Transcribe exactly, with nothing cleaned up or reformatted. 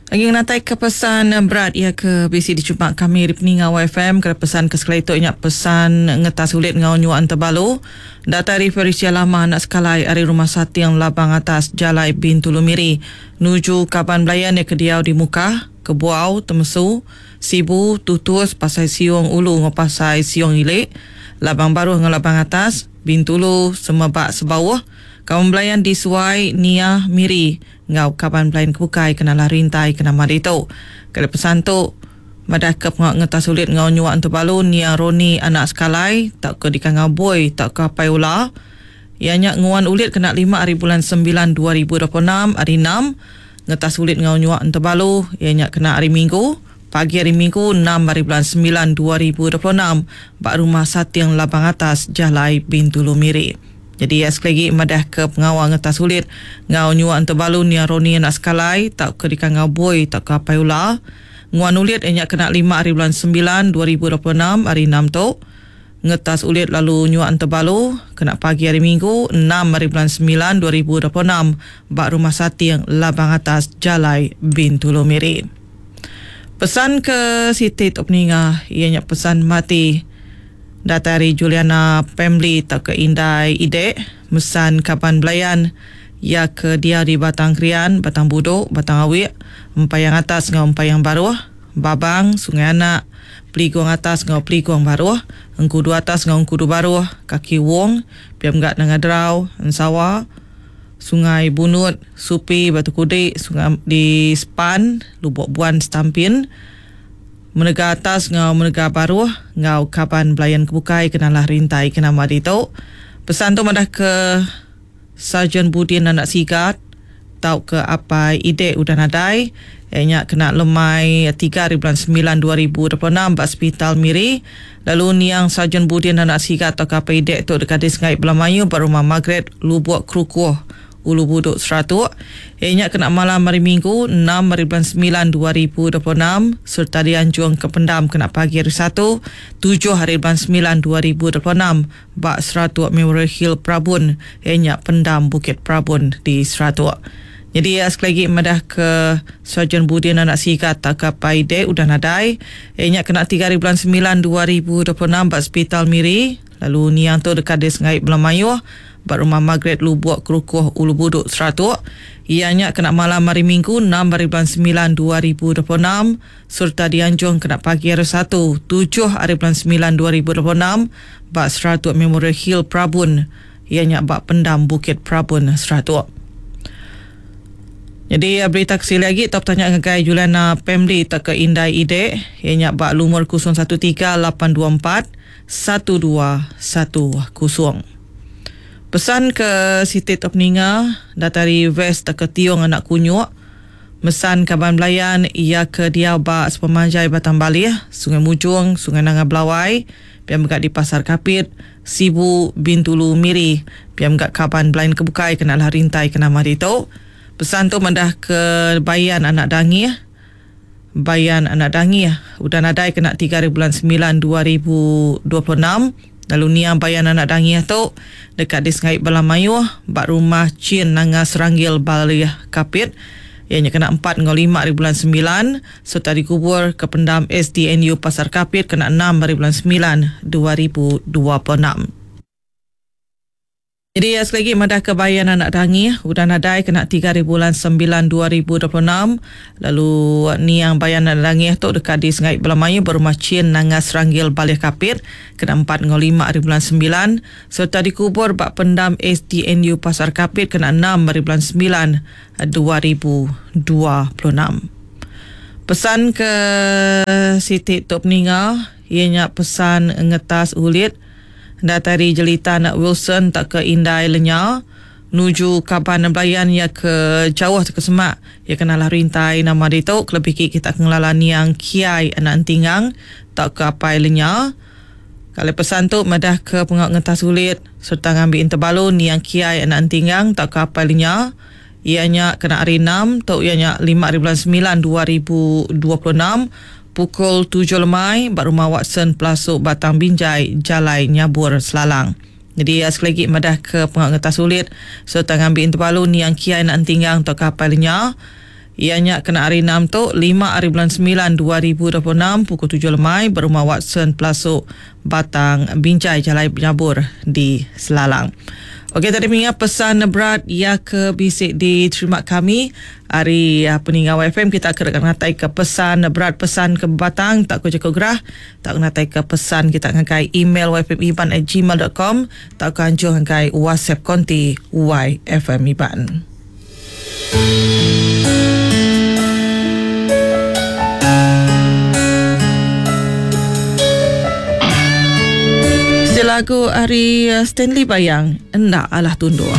Lagi ngenatai ke pesan berat ia ke bisi dicumpak kami di Peninga Y F M. Kena pesan ke sekali itu ingat pesan ngetas ulit ngau nyuan terbalu. Data dari Felicia Lama anak sekalai dari Rumah Sating Labang Atas Jalai Bintulu Miri. Nuju kaban belayan ia ke diau di Mukah, Kebuau, Temesu, Sibu, Tutus, Pasai Siung Ulu ngau Pasai Siung Ilik, Labang Baruh ngau Labang Atas, Bintulu, Semebak Sebauh. Kaban belayan di Suai, Nia, Miri ngau kaban belayan kebukai kenalah rintai kenama ditu. Kali pesan tu madah ke pengak ngetas sulit ngau nyuak terbalu Nia Roni anak sekalai tak ke dikangau boy tak ke apai ula. Ianya nguan ulit kena lima hari bulan sembilan dua ribu dua puluh enam hari enam. Ngetas ulit ngau nyuak terbalu ianya kena hari Minggu pagi hari Minggu enam hari bulan sembilan dua ribu dua puluh enam bak Rumah Sating Labang Atas Jalai Bintulu Miri. Jadi ya, sekali lagi madah ke pengawal ngetas sulit ngau nyuak terbalu Nia Roni anak sekalai tak ke dikangau boy tak ke apai ula. Nguan ulit ianya kena lima hari bulan sembilan dua ribu dua puluh enam hari enam tu. Ngetas ulit lalu nyuak terbalu kena pagi hari Minggu enam hari bulan sembilan dua ribu dua puluh enam bak Rumah Sating Labang Atas Jalai Bintulu Miri. Pesan ke Siti Tok Peninga ianya pesan mati data dari Juliana Pemli tak ke Indai Ide mesan kaban belayan ya ke dia di Batang Krian, Batang Buduk, Batang Awik, Empayang Atas ngau Empayang Baruh, Babang, Sungai Anak, Peligong Atas ngau Peligong Baruh, Engkudu Atas ngau Engkudu Baruh, Kaki Wong, Piam Gak Nanga Derau, Ensawa, Sungai Bunut, Supi, Batu Kudik, Sungai di Span, Lubuk Buan, Stampin, Menega Atas ngau Menega Baruh, ngau kaban belayan kebukai kenalah rintai kenama ditu. Pesan tu madah ke Sarjan Budin anak Sigat tau ke apai Ide udah nadai ianya kena lemai tiga hari bulan sembilan dua ribu dua puluh enam ba Hospital Miri. Lalu niang Sarjan Budin anak Sigat tau ke apai Ide tu dekat di Sengai Belamayu ba Rumah Margaret Lubuk Kerukuh Ulu Buduk Seratuk. Ianya kena malam hari Minggu enam hari bulan sembilan dua ribu dua puluh enam serta dianjung ke pendam kena pagi hari Satu tujuh hari bulan sembilan dua ribu dua puluh enam bak Seratuk Memorial Hill Prabun. Ianya pendam Bukit Prabun di Seratuk. Jadi ya, sekali lagi madah ke Sarjan Budin anak Sigat tak ke Paide udah nadai. Ianya kena tiga hari bulan sembilan dua ribu dua puluh enam bak Hospital Miri. Lalu niang tu dekat di Sengai Belamayuh bak Rumah Margaret Lubuk Kerukuh Ulu Buduk Seratuk. Ianya kena malam hari Minggu enam hari bulan sembilan dua ribu dua puluh enam serta dianjung kena pagi hari Satu tujuh hari bulan sembilan dua ribu dua puluh enam bak Seratuk Memorial Hill Prabun. Ianya bak pendam Bukit Prabun Seratuk. Jadi berita kesili lagi top tanya ngagai Juliana Pemli tak ke Indai Ide ianya bak lumur kosong satu tiga lapan dua empat satu dua satu kosong. Pesan ke Siti Tok Peninga datari West ke Tiong anak Kunyuk. Mesan kaban belayan ia ke dia bak sepemanjai Batang Balih, Sungai Mujung, Sungai Nanga Belawai, piam gak di Pasar Kapit, Sibu, Bintulu, Miri, piam gak kaban belayan kebukai kena lah rintai kena mari tu. Pesan tu mendah ke Bayan anak Dangih. Bayan anak Dangih udah nadai kena tiga hari bulan sembilan dua ribu dua puluh enam. Lalu niang Bayan anak Dangih tu dekat di Sengai Belamayuh bak Rumah Chin Nanga Seranggil Balih Kapit. Ianya kena empat ngau lima hari bulan sembilan serta dikubur ke pendam S D N U Pasar Kapit kena enam hari bulan sembilan dua ribu dua puluh enam. Jadi ya, sekali lagi madah ke Bayan anak Dangih udah nadai kena tiga hari bulan sembilan dua ribu dua puluh enam. Lalu niang Bayan anak Dangih tu dekat di Sengai Belamayu berumah Chin Nanga Seranggil Balih Kapit kena empat ngau lima hari bulan sembilan serta dikubur bak pendam S D N U Pasar Kapit kena enam hari bulan sembilan dua ribu dua puluh enam. Pesan ke Siti Tok Peninga ianya pesan ngetas ulit datari Jelita anak Wilson tak ke Indai Lenya nuju kaban belayan ya ke jauh ke semak ya kenalah rintai nama ditu kelebih kita kengelala niang Kiai anak Entingang tak ke apai Lenya. Kalau pesan tu madah ke pengak ngetas ulit serta ngambil interbalu niang Kiai anak Entingang tak ke apai Lenya ianya kena hari enam tu ianya lima hari bulan sembilan dua ribu dua puluh enam pukul tujuh lemai bak Rumah Watson Pelasuk Batang Binjai Jalai Nyabur Selalang. Jadi ya, sekali lagi madah ke pengak ngetas sulit serta ngambil interbalu niang Kiai nak Entinggang atau kapal lenya. Iya nya kena hari enam tu, lima hari bulan semilan dua ribu dua puluh enam pukul tujuh lemai berumah Watson Pelasuk Batang Binjai Jalai Nyabur di Selalang. Okey, tadi mengingat pesan berat ya ke bisi diterima kami hari peninggal Y F M, kita akan ngatai ke pesan berat pesan ke batang tak ku jaku gerah tak ngatai ke pesan kita ngagai email y f m iban at gmail dot com tak ku anjung ngagai WhatsApp konti Y F M Iban. Lagu ari Stanley Bayang, Enda Alah Tunduk.